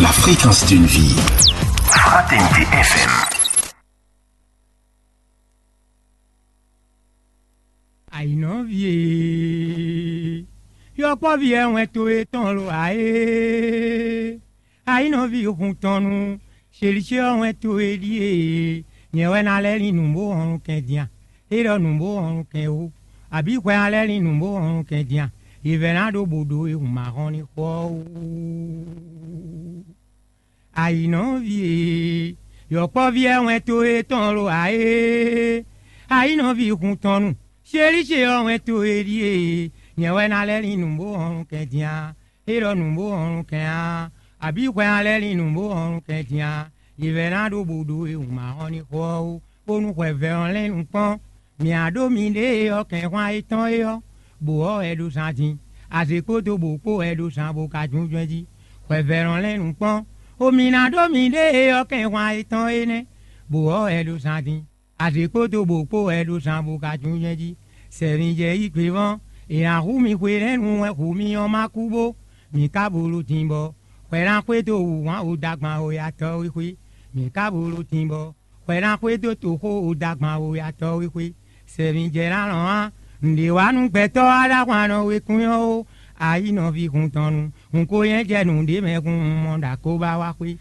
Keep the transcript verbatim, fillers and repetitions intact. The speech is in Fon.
La fréquence d'une vie. Fraternité F M. Àyìnɔví e, yɔkpɔ́ví ɛ wɛn towe tɔn lo ǎ é. Ayinɔví hun tɔn nu, ṣelishe ɔ́ wɛn towe ɖíe. Nyɛ wɛ ná lɛ́ lin nǔ bó hɔn kɛn din a? É ɖɔ nǔ bó hɔn kɛn ó, abǐ hwɛ ná lɛ́ lin nǔ bó hɔn kɛn din a? Yě vɛ́ ná ɖó bǒ ɖó e hun ma hɔn ní xɔ ɔ́ wú. Ayinɔví e, yɔkpɔ́ví ɛ wɛn towe tɔn lo ǎ é. Ayinɔví hun tɔn nu, ṣelishe ɔ́ wɛn towe ɖíe. Nyɛ wɛ ná lɛ́ lin nǔ bó hɔn kɛn din a? É ɖɔ nǔ bó hɔn kɛn a? Abǐ hwɛ ná lɛ́ lin nǔ bó hɔn kɛn din a? Yě vɛ́ ná ɖó bǒ ɖó e hun ma hɔn ní xɔ ɔ́ ó, bónú hwɛvɛ́ ɔ́ lɛ́n nukpɔ́n. Mǐ á ɖó miɖée ɔ́ kɛnxwán étɔn é ɔ́, bǒ ɔ́ wɛ ɖo zan din. Azě kpódó bǒ kpó wɛ ɖo zan bó ka jínjɔ́n jí. Hwɛvɛ́ ɔ́ lɛ́n nukpɔ́n. Omi ná ɖó miɖée ɔ́ kɛnxwán étɔn énɛ́, bǒ ɔ́ wɛ ɖo zan din. Azě kpódó bǒ kpó wɛ ɖo zan bó ka jínjɔ́n jí. Sɛvǐjɛ yí gbe vɔ́n, è nǎ hu mi hwenɛ́nu wɛ hu mi ɔ́ ma kú bó. Mǐ ka bo ɖo din bɔ hwɛ ná xwedó wǔhwan odagban oyatɔ́ e xwé. Mǐ ka bo ɖo din bɔ hwɛ ná xwedó toxó odagban oyatɔ́ e xwé. Sɛvǐjɛ ná lɔn á, nǔɖé wá nú gbɛtɔ́ aɖáhwannɔ wekun ɔ́ ó. Ayi nɔví hun tɔn nu, hun ko nyɛ jɛ nǔɖé mɛ hun mɔ ɖo akóbá wá xwé.